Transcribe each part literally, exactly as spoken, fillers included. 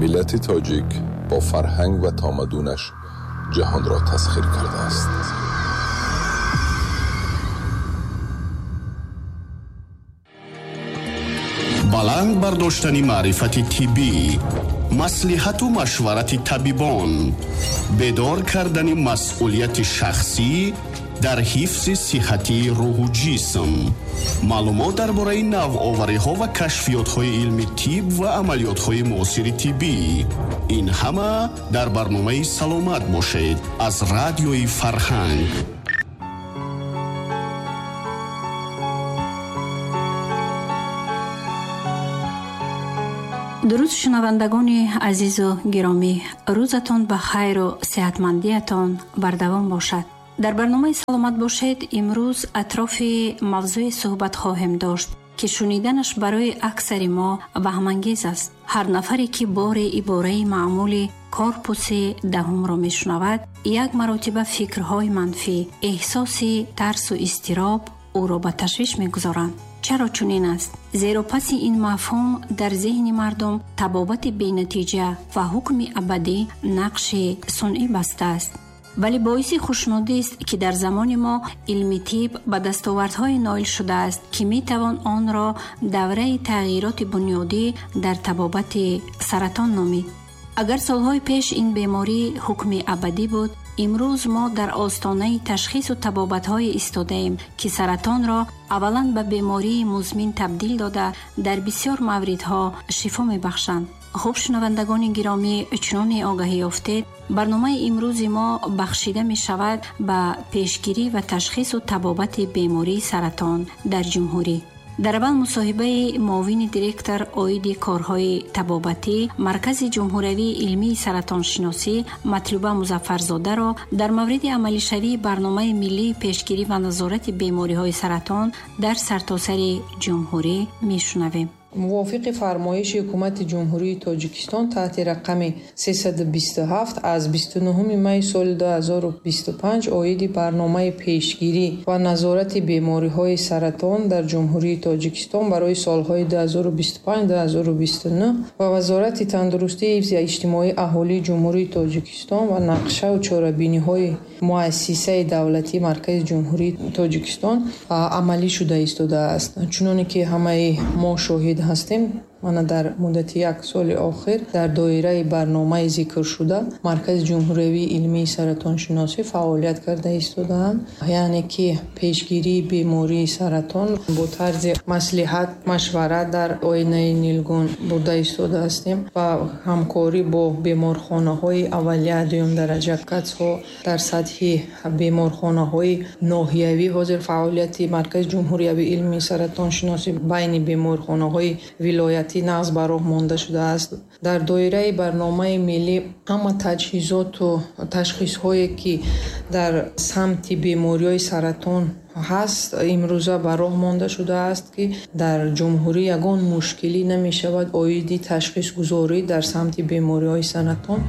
Миллати тоҷик бо фарҳанг ва тамаддунаш ҷаҳонро тасхир кардааст. Баланд бардоштани маърифати тиббӣ, маслиҳату машварати табибон, бедор кардани масъулияти шахсӣ дар ҳифзи сиҳатии рӯҳу ҷисм, маълумот дар бораи навовариҳо ва кашфиётҳои илми тиб ва амалиётҳои муосири тиббӣ. Ин ҳама дар барномаи «Саломат бошед» аз радиои Фарҳанг. Дуруд, шунавандагони азизу гиромӣ, рӯзатон ба хайру сеҳатмандиятон бардавом бошад. Дар барномаи «Саломат бошед» имрӯз атрофи мавзӯе суҳбат хоҳем дошт, ки шуниданаш барои аксари мо ваҳмангез аст. Ҳар нафаре, ки боре ибораи маъмули корпуси даҳумро мешунавад, як маротиба фикрҳои манфӣ, эҳсоси тарсу изтироб ӯро ба ташвиш мегузоранд. Чаро чунин аст? Зеро паси ин мафҳум дар зеҳни мардум табобати бенатиҷа ва ҳукми абадӣ нақши сунъӣ бастааст. Вале боиси хушнудист, ки дар замони мо илми тиб ба дастовардҳое ноил шудааст, ки метавон онро давраи тағйироти бунёдӣ дар табобати саратон номид. Агар солҳои пеш ин беморӣ ҳукми абадӣ буд, имрӯз мо дар остонаи ташхису табобатҳое истодаем, ки саратонро аввалан ба бемории музмин табдил дода, дар бисёр мавридҳо шифо мебахшанд. Хуб, шунавандагони гиромӣ, чуноне огаҳӣ ёфтед, барномаи имрӯзи мо бахшида мешавад ба пешгирӣ ва ташхису табобати бемории саратон дар ҷумҳурӣ. Дар аввал мусоҳибаи муовини директор оиди корҳои табобатӣ Маркази ҷумҳуриявии илмии саратоншиносӣ Матлуба Музаффарзодаро дар мавриди амалишавии барномаи миллии пешгирӣ ва назорати бемориҳои саратон дар сартосари ҷумҳурӣ мешунавем. Мувофиқи фармоиши Ҳукумати Ҷумҳурии Тоҷикистон таҳти рақами сесаду бисту ҳафт аз бисту нуҳуми майи соли ду ҳазору бисту панҷ оиди барномаи пешгирӣ ва назорати бемориҳои саратон дар Ҷумҳурии Тоҷикистон барои солҳои ду ҳазору бисту панҷ ду ҳазору бисту нӯҳ ва Вазорати тандурустии ҳифзи иҷтимоии аҳолии Ҷумҳурии Тоҷикистон ва нақшаву чорабиниҳои муассисаи давлатии Маркази Ҷумҳурии Тоҷикистон амалӣ шуда истодааст. Чуноне ки ҳамаи мо шоҳид ҳастем, мана дар муддати як соли охир дар доираи барномаи зикршуда Маркази ҷумҳуриявии илмии саратоншиносӣ фаъолият карда истодаанд. Яъне ки пешгирии бемории саратон бо тарзи маслиҳат, машварат дар оинаи нилгун бурда истода ҳастем ва ҳамкорӣ бо беморхонаҳои аввалия дуюмдараҷа катсҳо дар сатҳи беморхонаҳои ноҳиявӣ. Ҳозир фаъолияти Маркази ҷумҳуриявии илмии саратоншиносӣ байни беморхонаҳои вилоятӣ нағз ба роҳ монда шудааст. Дар доираи барномаи миллӣ ҳама таҷҳизоту ташхисҳое, ки дар самти бемориҳои саратон ҳаст, имрӯза ба роҳ монда шудааст, ки дар ҷумҳурӣ ягон мушкилӣ намешавад оиди ташхисгузорӣ дар самти бемориҳои саратон.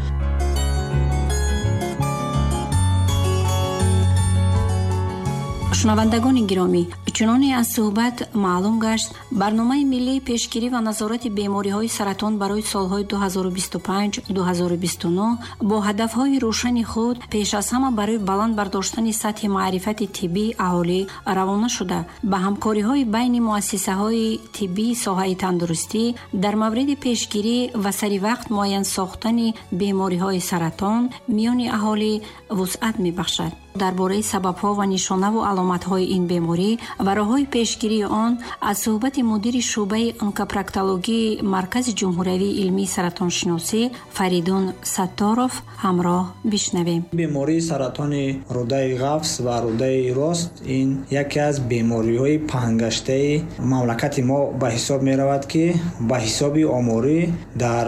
Шунавандагони гиромӣ, чуноне аз суҳбат маълум гашт, барномаи миллии пешгирӣ ва назорати бемориҳои саратон барои солҳои ду ҳазору бисту панҷ ду ҳазору бисту нӯҳ бо ҳадафҳои рӯшани худ пеш аз ҳама барои баланд бардоштани сатҳи маърифати тиббии аҳолӣ равона шуда, ба ҳамкориҳои байни муассисаҳои тиббии соҳаи тандурустӣ дар мавриди пешгирӣ ва сари вақт муайян сохтани бемориҳои саратон миёни аҳолӣ вусъат мебахшад. Дар бораи сабабҳо ва нишонаву аломатҳои ин беморӣ ва роҳҳои пешгирии он аз суҳбати мудири шӯъбаи онкопроктологии Маркази ҷумҳуриявии илмии саратоншиносӣ Фаридун Сатторов ҳамроҳ бишнавем. Бемории саратони рӯдаи ғафс ва рӯдаи рост ин яке аз бемориҳои паҳнгаштаи мамлакати мо ба ҳисоб меравад, ки ба ҳисоби оморӣ дар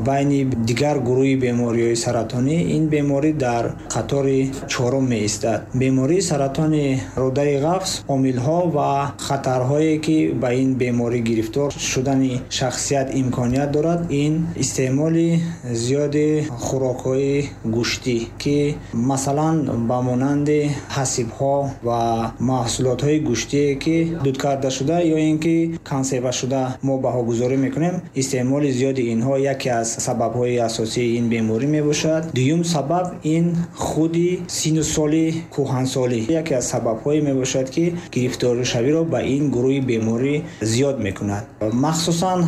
байни дигар гурӯҳи бемориҳои саратонӣ ин беморӣ дар қатори чорум меистад. Бемории саратони рӯдаи ғафс омилҳои Омилҳо ва хатарҳое ки ба ин беморӣ гирифтор шудани шахсият имконият дорад, ин истеъмоли зиёди хӯрокҳои гӯштӣ, ки масалан ба монанди ҳасибҳо ва маҳсулотҳои гӯштие ки дуд карда шуда ё ин ки консерва шуда мо баҳогузорӣ мекунем, истеъмоли зиёди инҳо яке аз сабабҳои асосии ин беморӣ мебошад. Дуюм сабаб ин худи синну соли кӯҳансолӣ яке аз сабабҳое мебошад, ки гирифторшавиро ба ин гурӯҳи беморӣ зиёд мекунад. Махсусан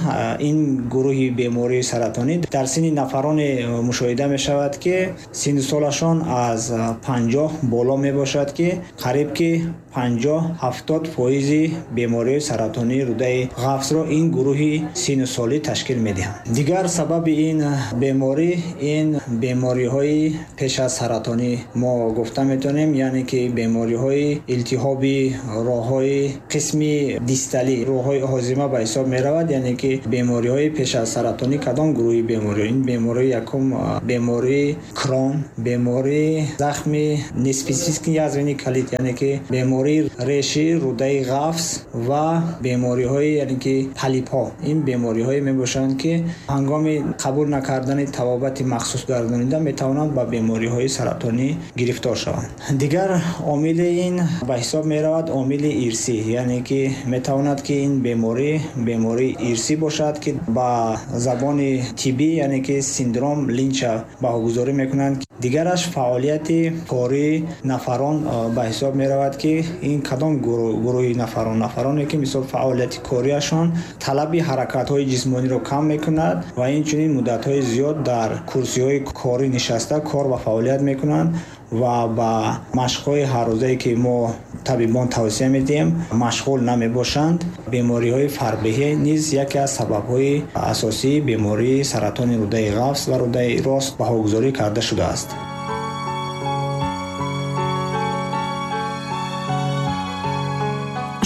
ин гурӯҳи бемории саратонӣ дар синни нафароне мушоҳида мешавад, ки синну солашон аз панҷоҳ боло мебошад, ки қариб ки панҷоҳ ҳафтод фоизи бемории саратонии рӯдаи ғафсро ин гурӯҳи синну солӣ ташкил медиҳанд. Дигар сабаби ин беморӣ ин бемориҳои пеш аз саратонӣ мо гуфта метавонем, яъне ки бемориҳои илтиҳоби роҳҳои қисми дисталӣ, роҳҳои ҳозима ба ҳисоб меравад, яъне ки бемориҳои пеш аз саратонӣ кадом гурӯҳи бемориҳо? Ин бемории якум бемории Крон, бемории захми неспецифический язвенный колит, яъне ки бемории реши рӯдаи ғафс ва бемориҳои яъне ки полипҳо. Ин бемориҳое мебошанд, ки ҳангоми қабул накардани табобати махсус гардонида метавонанд ба бемориҳои саратонӣ гирифтор шаванд. Дигар омили ин ба ҳисоб меравад омили ирсӣ, яъне ки метавонад ки ин беморӣ бемории ирсӣ бошад, ки ба забони тиббӣ яъне ки синдром Линча баҳогузорӣ мекунанд. Дигараш фаъолияти кории нафарон ба ҳисоб меравад, ки ин кадом гурӯҳи нафарон? Нафароне ки мисол фаъолияти кориашон талаби ҳаракатҳои ҷисмониро кам мекунад ва инчунин муддатҳои зиёд дар курсиҳои корӣ нишаста кор ва фаъолият мекунанд ва ба машқҳои ҳаррӯзае ки мо табибон тавсия медиҳем машғул намебошанд. Бемориҳои фарбеҳӣ низ яке аз сабабҳои асосии бемории саратони рӯдаи ғафс ва рӯдаи рост баҳогузорӣ карда шудааст.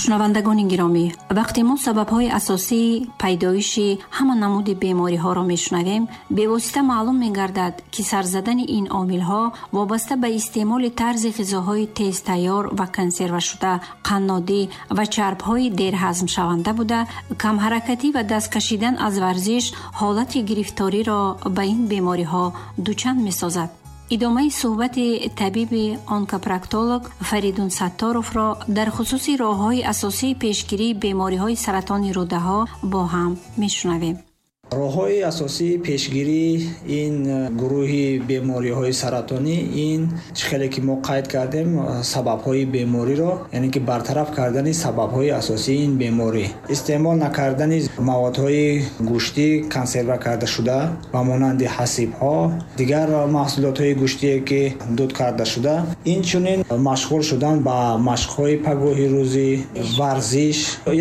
Шунавандагони гиромӣ, вақте мо сабабҳои асосии пайдоиши ҳама намуди бемориҳоро мешунавем, бевосита маълум мегардад, ки сар задани ин омилҳо вобаста ба истеъмоли тарзи ғизоҳои тезтайёр ва консервашуда, қаннодӣ ва чарбҳои дерҳазмшаванда буда, камҳаракатӣ ва даст кашидан аз варзиш ҳолати гирифториро ба ин бемориҳо дучанд месозад. Идомаи суҳбати табиби онкопроктолог Фаридун Сатторовро дар хусуси роҳҳои асосии пешгирии бемориҳои саратони рӯдаҳо бо ҳам мешунавем. Роҳҳои асосии пешгирии ин гурӯҳи бемориҳои саратонӣ ин чӣ хеле ки мо қайд кардем, сабабҳои бемориро, яъне ки бартараф кардани сабабҳои асосии ин беморӣ, истеъмол накардани маводҳои гӯштӣ консерва карда шуда ба монанди ҳасибҳо, дигар маҳсулотҳои гӯштие ки дуд карда шуда, инчунин машғул шудан ба машқҳои пагоҳи рӯзӣ, варзиш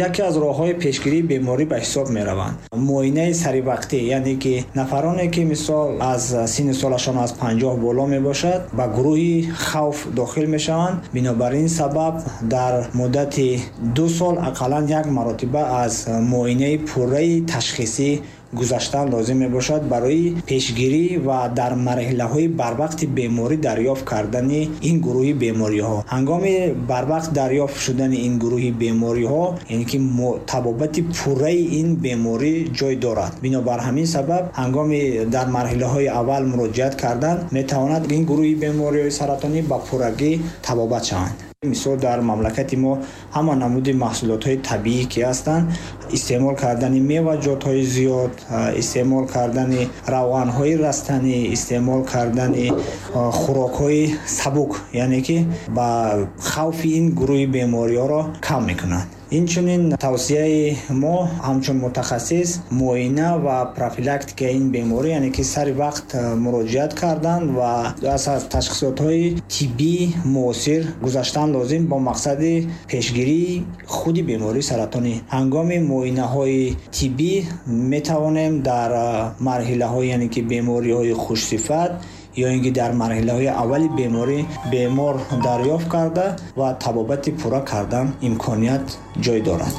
яке аз роҳҳои пешгирии беморӣ ба ҳисоб мераванд. Муоинаи сари вақтӣ, яъне ки нафароне ки мисол аз синну солашон аз панҷоҳ боло мебошад, ба гурӯҳи хавф дохил мешаванд. Бинобар ин сабаб дар муддати ду сол ақаллан як маротиба аз муоинаи пурраи ташхисӣ гузаштан лозим мебошад барои пешгирӣ ва дар марҳилаҳои барвақти беморӣ дарёфт кардани ин гурӯҳи бемориҳо. Ҳангоми барвақт дарёфт шудани ин гурӯҳи бемориҳо, яъне ки табобати пурраи ин беморӣ ҷой дорад. Бинобар ҳамин сабаб ҳангоми дар марҳилаҳои аввал муроҷиат кардан метавонад ин гурӯҳи бемориҳои саратонӣ ба пуррагӣ табобат шаванд. Мисол дар мамлакати мо ҳама намуди маҳсулотҳои табиӣ ки ҳастанд, истеъмол кардани меваҷотҳои зиёд, истеъмол кардани равғанҳои растанӣ, истеъмол кардани хӯрокҳои сабук, яъне ки ба хавфи ин гурӯҳи бемориҳоро кам мекунанд. Инчунин тавсияи мо ҳамчун мутахассис муоина ва профилактикаи ин беморӣ, яъне ки сари вақт муроҷиат кардан ва аз ташхисотҳои тиббӣ муосир гузаштан лозим бо мақсади пешгирии худи бемории саратонӣ. Ҳангоми муоинаҳои тиббӣ метавонем дар марҳилаҳои, яъне ки бемориҳои хушсифат ё ин ки дар марҳилаҳои аввали беморӣ бемор дарёфт карда ва табобати пурра кардан имконият ҷой дорад.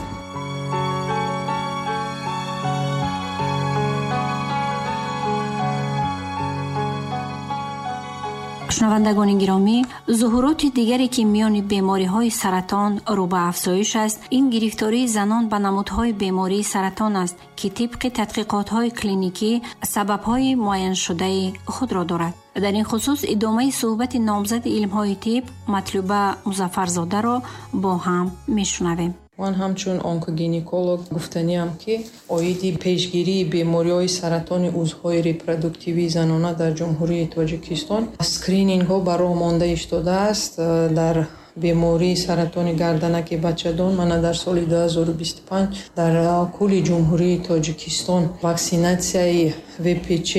Шунавандагони гиромӣ, зуҳуроти дигаре ки миёни бемориҳои саратон рӯ ба афзоиш аст, ин гирифтории занон ба намудҳои бемории саратон аст, ки тибқи тадқиқотҳои клиникӣ сабабҳои муайяншудаи худро дорад. Дар ин хусус идомаи суҳбати номзади илмҳои тиб Матлуба Музаффарзодаро бо ҳам мешунавем. Ман ҳамчун онкогинеколог гуфтаниам, ки оиди пешгирии бемориҳои саратони узвҳои репродуктивии занона дар Ҷумҳурии Тоҷикистон скринингҳо ба роҳ монда истодааст. Дар бемории саратони гарданаки бачадон мана дар соли ду ҳазору бисту панҷ дар кулли Ҷумҳурии Тоҷикистон ваксинатсияи В П Ч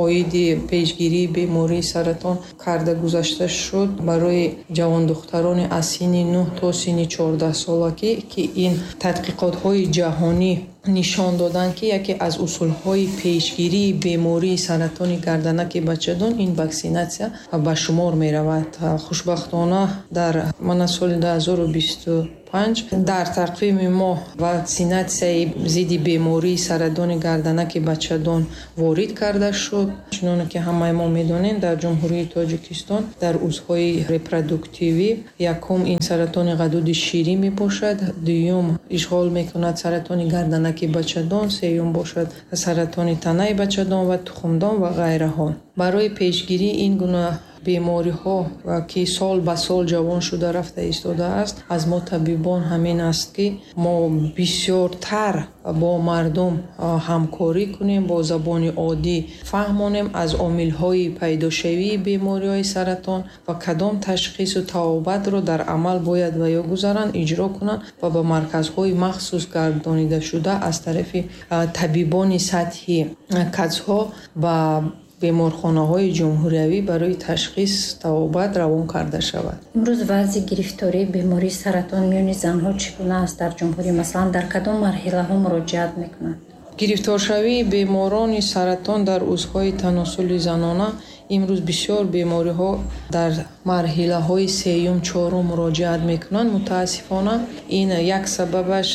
оиди пешгирии бемории саратон карда гузашта шуд барои ҷавондухтарони аз синни нӯҳ то синни чордаҳсолагӣ, ки ин тадқиқотҳои ҷаҳонӣ нишон доданд, ки яке аз усулҳои пешгирии бемории саратони гарданаки бачадон ин ваксинатсия ба шумор меравад. Хушбахтона, дар мана соли ду ҳазору бисту панҷ дар тақвими мо ваксинатсияи зидди бемории саратони гарданаки бачадон ворид карда шуд. Чуноне ки ҳамаи мо медонем, дар Ҷумҳурии Тоҷикистон дар узвҳои репродуктивӣ якум ин саратони ғадуди ширӣ мебошад, дуюм ишғол мекунад саратони гарданаки бачадон, сеюм бошад саратони танаи бачадон ва тухмдон ва ғайраҳо. Барои пешгирии ин гуна бемориҳо, ки сол ба сол ҷавон шуда рафта истодааст, аз мо табибон ҳамин аст, ки мо бисёртар бо мардум ҳамкорӣ кунем, бо забони оддӣ фаҳмонем аз омилҳои пайдошавии бемориҳои саратон ва кадом ташхису табобатро дар амал бояд ва ё гузаранд, иҷро кунанд ва ба марказҳои махсус гардонидашуда аз тарафи табибони сатҳи КАЦҳо ба беморхонаҳои ҷумҳуриявӣ барои ташхис, табобат равон карда шавад. Имрӯз вазъи гирифтории бемории саратон миёни занҳо чӣ гуна аст дар ҷумҳурӣ? Масалан, дар кадом марҳилаҳо муроҷиат мекунанд? Гирифторшавии беморони саратон дар узвҳои таносули занона имрӯз бисёр бемориҳо дар марҳилаҳои сеюм, чорум муроҷиат мекунанд. Мутаассифона, ин як сабабаш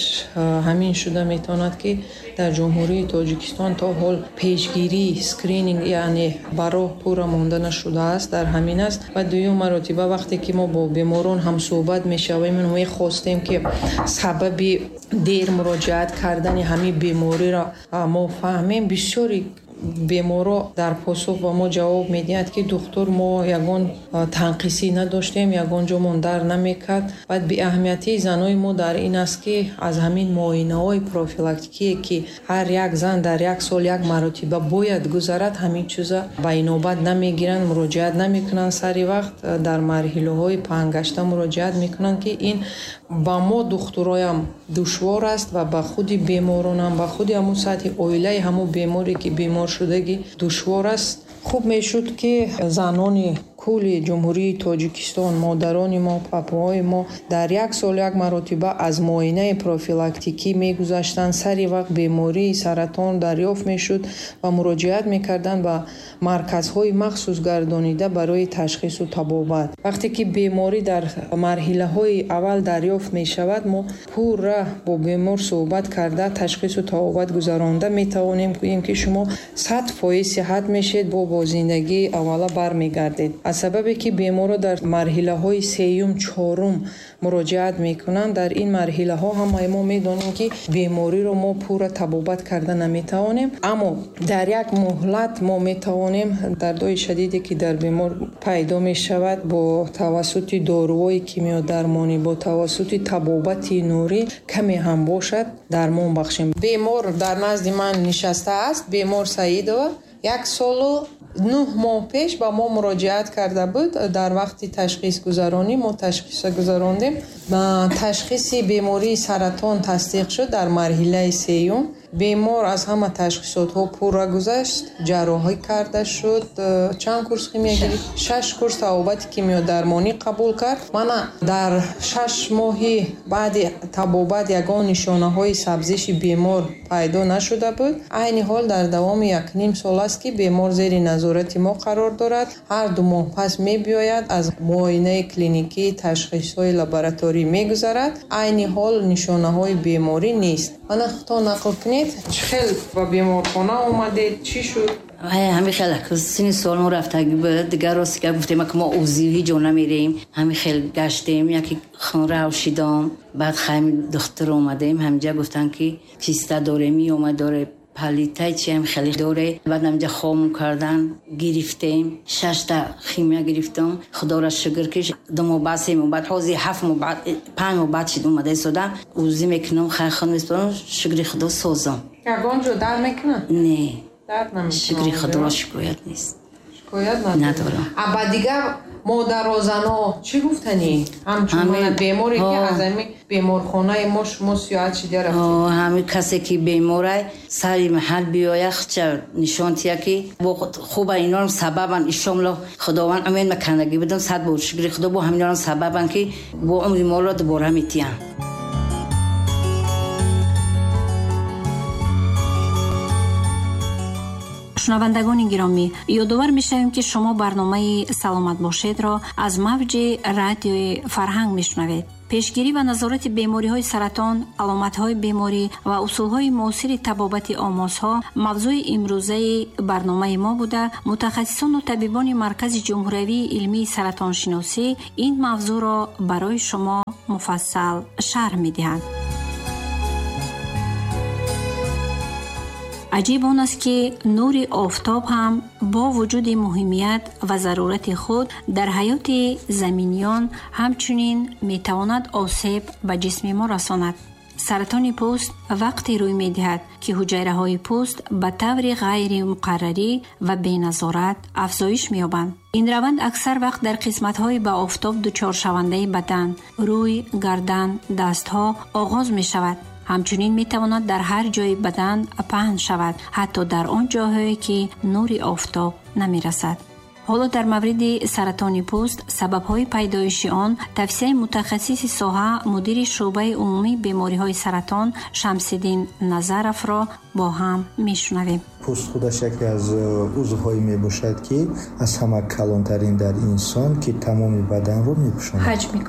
ҳамин шуда метавонад, ки дар Ҷумҳурии Тоҷикистон то ҳол пешгирӣ, скрининг, яъне ба роҳ пурра монда нашудааст, дар ҳамин аст. Ва дуюм маротиба, вақте ки мо бо беморон ҳамсӯҳбат мешавем, мехостем, ки сабаби дер муроҷиат кардани ҳамин бемориро мо фаҳмем, бисёри беморо дар посух ба мо ҷавоб медиҳад, ки духтур, мо ягон танқисӣ надоштем, ягон ҷомон дар намекард. Баъд беаҳамиятии занои мо дар ин аст, ки аз ҳамин муоинаҳои профилактикие, ки ҳар як зан дар як сол як маротиба бояд гузарад, ҳамин чиза ба инобат намегиранд, муроҷиат намекунанд сари вақт, дар марҳилаҳои паҳнгашта муроҷиат мекунанд, ки ин ба мо духтуроям душвор аст ва ба худи беморонам, ба худи ҳамун сатҳи оилаи ҳамун беморе, ки бемор шудагӣ, душвор аст. Хуб мешуд, ки занони кулли Ҷумҳурии Тоҷикистон, модарони мо, папаҳои мо дар як сол як маротиба аз муоинаи профилактикӣ мегузаштанд, сари вақт бемории саратон дарёфт мешуд ва муроҷиат мекарданд ба марказҳои махсус гардонида барои ташхису табобат. Вақте ки беморӣ дар марҳилаҳои аввал дарёфт мешавад, мо пурра бо бемор суҳбат карда, ташхису табобат гузаронда метавонем гӯем, ки шумо сад фоиз сиҳат мешед, бо бо зиндагии аввала бармегардед. Аз сабабе ки беморро дар марҳилаҳои сеюм, чорум муроҷиат мекунанд, дар ин марҳилаҳо ҳамаи мо медонем, ки бемориро мо пурра табобат карда наметавонем, аммо дар як муҳлат мо метавонем дардҳои шадиде, ки дар бемор пайдо мешавад, бо тавассути доруҳои кимиёдармонӣ, бо тавассути табобати нурӣ каме ҳам бошад дармон бахшем. Бемор дар назди ман нишастааст, бемор Саидова як солу нӯҳ моҳ пеш ба мо муроҷиат карда буд. Дар вақти ташхисгузаронӣ мо ташхиса гузарондем, ташхиси бемории саратон тасдиқ шуд дар марҳилаи сеюм. Бемор аз ҳама ташхисотҳо пурра гузашт, ҷарроҳӣ карда шуд, чанд курс химия гирифт, шаш курс табобати кимиёдармонӣ қабул кард. Мана дар шаш моҳи баъди табобат ягон нишонаҳои сабзиши бемор пайдо нашуда буд. Айни ҳол дар давоми якним сол аст, ки бемор зери назорати мо қарор дорад. Ҳар ду моҳ пас мебиёяд, аз муоинаи клиникӣ, ташхисҳои лабораторӣ мегузарад. Айни ҳол нишонаҳои беморӣ нест. Мана худтон нақл кунед, чӣ хел ба беморхона омадед, чӣ шуд? Ҳами хел сини сол мо рафтагӣ буд, дигар рости гап гуфтем, ки мо УЗИ ҳеҷ ҷо намерем. Ҳами хел гаштем, яке хун равшидам, баъд хайми духтур омадем, ҳаминҷа гуфтан ки киста дорем, миома доре, палитай чи ҳам хеле доре. Баъд ҳаминҷа хом кардан гирифтем, шашта химия гирифтам. Худоро шукр ки ду моҳ баъд, се моҳ баъд, ҳозир ҳафт моҳ баъд, панҷ моҳ баъд шид омада истода. УЗИ мекунам, хай хун меспорам, шукри Худо созам. Ягон ҷо дард мекунад? Не. Дард намекунад. Шукри Худоро шикоят нест. Шикоят надорам. А ба дигар модарозано чӣ гуфтанӣ? Ҳамчун беморе ки аз ҳамин беморхонаи мо шумо сиёҳат шида рафтед. Ҳамин касе ки беморай сари маҳал биёяд, худша нишон тия ки хуба инорам сабабан. Иншоалло Худованд умед макандагӣ будам, сад бор шукри Худо бо ҳаминорам сабабан ки бо умри моро дубора метиҳанд. Шунавандагони гиромӣ, ёдовар мешавем, ки шумо барномаи «Саломат бошед»-ро аз мавҷи радиои Фарҳанг мешунавед. Пешгирӣ ва назорати бемориҳои саратон, аломатҳои беморӣ ва усулҳои муосири табобати омозҳо мавзӯи имрӯзаи барномаи мо буда, мутахассисону табибони Маркази ҷумҳуриявии илмии саратоншиносӣ ин мавзӯъро барои шумо муфассал шарҳ медиҳанд. Аҷиб он аст, ки нури офтоб ҳам бо вуҷуди муҳимият ва зарурати худ дар ҳаёти заминиён ҳамчунин метавонад осеб ба ҷисми мо расонад. Саратони пӯст вақте рӯй медиҳад, ки ҳуҷайраҳои пӯст ба таври ғайримуқаррарӣ ва беназорат афзоиш меёбанд. Ин раванд аксар вақт дар қисматҳои ба офтоб дучоршавандаи бадан, рӯй, гардан, дастҳо оғоз мешавад. Ҳамчунин метавонад дар ҳар ҷои бадан паҳн шавад, ҳатто дар он ҷойҳое ки нури офтоб намерасад. Ҳоло дар мавриди саратони пӯст, сабабҳои пайдоиши он, тавсияи мутахассиси соҳа, мудири шӯъбаи умумии бемориҳои саратон Шамсиддин Назаровро бо ҳам мешунавем. Пӯст худаш яке аз узвҳое мебошад, ки аз ҳама калонтарин дар инсон, ки тамоми баданро мепӯшонад,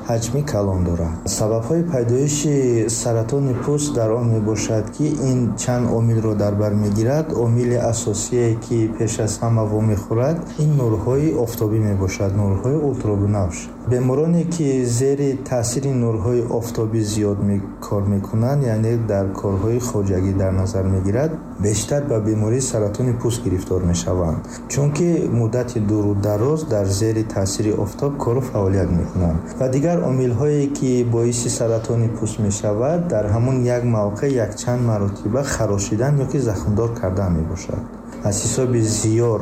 ҳаҷми калон дорад. Сабабҳои пайдоиши саратони пӯст дар он мебошад, ки ин чанд омилро дар бар мегирад. Омили асосие ки пеш аз ҳама вомехӯрад, ин нурҳои офтобӣ мебошад, нурҳои ултрабунафш. Бемороне ки зери таъсири нурҳои офтобӣ зиёд кор мекунанд, яъне дар корҳои хоҷагӣ дар назар мегирад, бештар ба бемории саратони пӯст гирифтор мешаванд, чунки муддати дуру дароз дар зери таъсири офтоб кору фаъолият мекунанд. Ва дигар омилҳое ки боиси саратони пӯст мешавад, дар ҳамон як мавқеъ якчанд маротиба харошидан ё ки захмдор кардан мебошад. Аз ҳисоби зиёр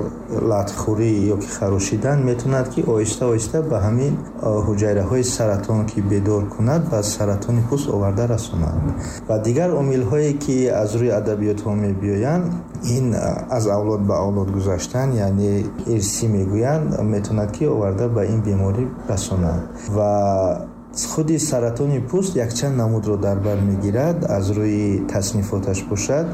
латхӯрӣ ё ки харошидан метавонад ки оҳиста оҳиста ба ҳамин ҳуҷайраҳои саратон ки бедор кунад, ба саратони пӯст оварда расонад. Ва дигар омилҳое ки аз рӯи адабиётҳо мебиёянд, ин аз авлод ба авлод гузаштан, яъне ирсӣ мегӯянд, метавонад ки оварда ба ин беморӣ расонад. Ва худи саратони пӯст якчанд намудро дар бар мегирад. Аз рӯи таснифоташ бошад,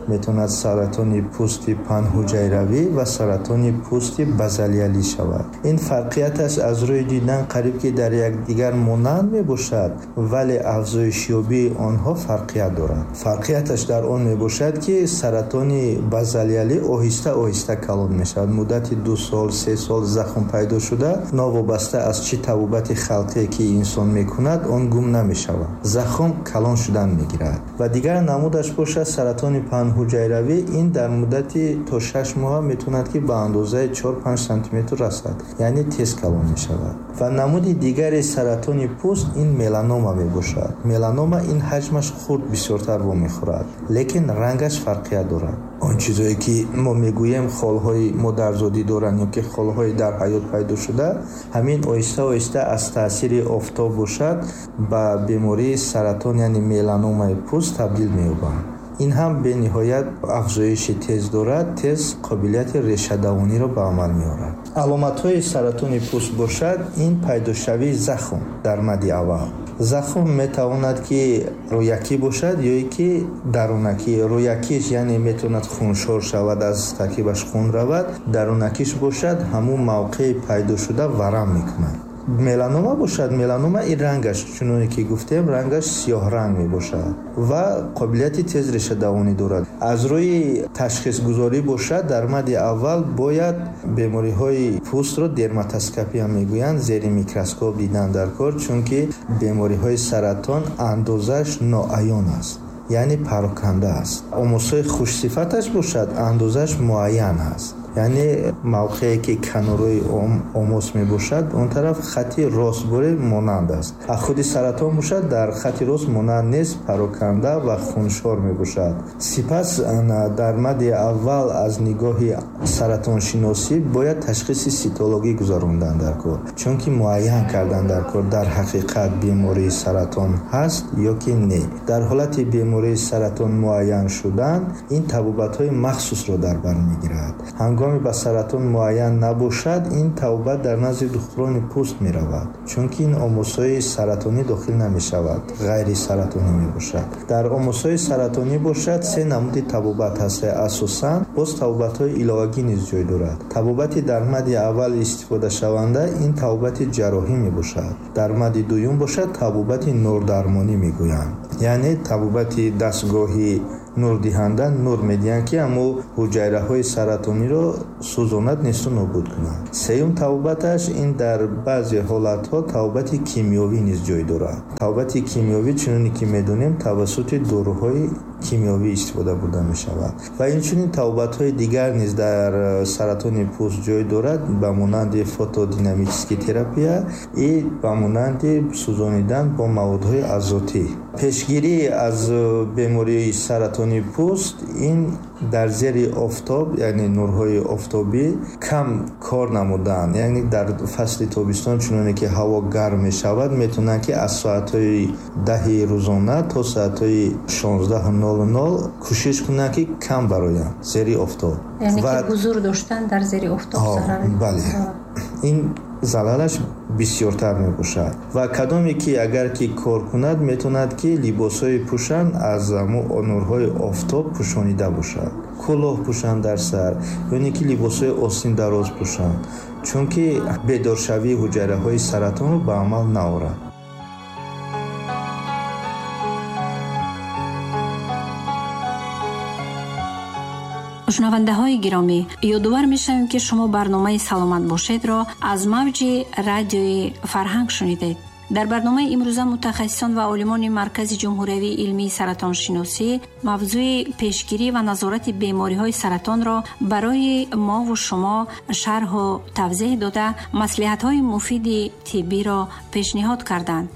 метавонад саратони пӯсти панҳуҷайравӣ ва саратони пӯсти базалиалӣ шавад. Ин фарқияташ аз рӯи дидан қариб ки дар якдигар монанд мебошад, вале афзоишёбии онҳо фарқият дорад. Фарқияташ дар он мебошад, ки саратони базалиалӣ оҳиста оҳиста калон мешавад. Муддати ду сол, се сол захм пайдо шуда, новобаста аз чӣ табобати халқие ки инсон мекунад, он гум намешавад. Захм калон шудан мегирад. Ва дигар намудаш бошад саратони панҳуҷайравӣ, ин дар муддати то шаш моҳ метавонад ки ба андозаи чор-панҷ сантиметр расад, яъне тез калон мешавад. Ва намуди дигари саратони пӯст ин меланома мебошад. Меланома ин ҳаҷмаш хурд бисёртар вомехӯрад, лекин рангаш фарқият дорад. Он чизое ки мо мегӯем холҳои модарзодӣ доранд ё ки холҳои дар ҳаёт пайдо шуда, ҳамин оҳиста оҳиста аз таъсири офтоб бошад ба бемории саратон, яъне меланомаи пӯст табдил меёбанд. Ин ҳам бениҳоят афзоиши тез дорад, тез қобилияти решадавониро ба амал меорад. Аломатҳои саратони пӯст бошад, ин пайдошавии захм дар мади аввал. Захм метавонад ки рӯякӣ бошад ё ки дарунакӣ. Рӯякиш яъне метавонад хуншор шавад, аз таркибаш хун равад. Дарунакиш бошад, ҳамун мавқеи пайдо шуда варам мекунад. Меланома бошад, меланома ин рангаш чуноне ки гуфтем, рангаш сиёҳранг мебошад ва қобилияти тез решадавонӣ дорад. Аз рӯи ташхисгузорӣ бошад, дар мади аввал бояд бемориҳои пӯстро дерматоскопия мегӯянд, зери микроскоп дидан дар кор, чунки бемориҳои саратон андозаш ноаён аст, яъне пароканда аст. Омосҳои хушсифаташ бошад, андозаш муайян аст, яъне мавқее ки канораи омос мебошад, он тараф хати ростбуре монанд аст. А худи саратон бошад, дар хати рост монанд нест, пароканда ва хуншор мебошад. Сипас дар мади аввал аз нигоҳи саратоншиносӣ бояд ташхиси ситологӣ гузарондан дар кор, чунки муайян кардан дар кор дар ҳақиқат бемории саратон ҳаст ё ки не. Дар ҳолати бемории саратон муайян шудан, ин табобатҳои махсусро дар бар мегирад. Ҳангоми ба саратон муайян набошад, ин табобат дар назди духтурони пӯст меравад, чунки ин омосҳои саратонӣ дохил намешавад, ғайрисаратонӣ мебошад. Дар омосҳои саратонӣ бошад, се намуди табобат ҳаст. Асосан боз табобатҳои иловагӣ низ ҷой дорад. Табобати дар мади аввал истифодашаванда ин табобати ҷарроҳӣ мебошад. Дар мади дуюм бошад, табобати нурдармонӣ мегӯянд, яъне табобати дастгоҳи нурдиҳанда нур медиҳанд, ки ҳамо ҳуҷайраҳои саратониро сӯзонад, несту нобуд кунад. Сеюм табобаташ ин дар баъзе ҳолатҳо табобати кимиёвӣ низ ҷой дорад. Табобати кимиёвӣ чуноне ки медонем тавассути доруҳои кимиёвӣ истифода бурда мешавад. Ва инчунин табобатҳои дигар низ дар саратони пӯст ҷой дорад, ба монанди фотодинамический терапия и ба монанди сӯзонидан бо маводҳои азотӣ. Пешгирӣ аз бемории саратони пӯст ин дар зери офтоб, яъне нурҳои офтобӣ кам кор намудан, яъне дар фасли тобистон чуноне ки ҳаво гарм мешавад, метавонанд ки аз соатҳои даҳи рӯзона то соатҳои шонздаҳу нол нол кӯшиш кунанд ки кам бароянд зери офтоб. Яъне ки ҳузур доштан дар зери офтоб зарар. Бале, ин залалаш бисёртар мебошад. Ва кадоме ки агар ки кор кунад, метавонад ки либосҳои пӯшанд аз нурҳои офтоб пӯшонида бошад, кӯлоҳ пӯшанд дар сар, ё ки либосҳои остин дароз пӯшанд, чунки бедоршавии ҳуҷайраҳои саратонро ба амал наорад. Шунавандаҳои гиромӣ, ёдовар мешавем, ки шумо барномаи «Саломат бошед»-ро аз мавҷи радиои Фарҳанг шунидед. Дар барномаи имрӯза мутахассисон ва олимони Маркази ҷумҳуриявии илмии саратоншиносӣ мавзӯи пешгирӣ ва назорати бемориҳои саратонро барои мову шумо шарҳу тавзеҳ дода, маслиҳатҳои муфиди тиббиро пешниҳод карданд.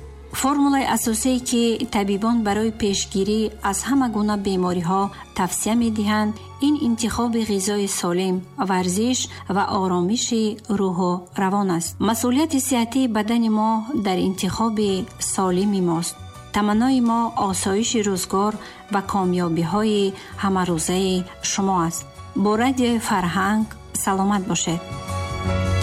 Формулаи асосие ки табибон барои пешгирӣ аз ҳама гуна бемориҳо тавсия медиҳанд, ин интихоби ғизои солим, варзиш ва оромиши рӯҳу равон аст. Масъулияти сиҳатии бадани мо дар интихоби солими мост. Таманнои мо осоиши рӯзгор ва комёбиҳои ҳамарӯзаи шумо аст. Бо радиои Фарҳанг саломат бошед.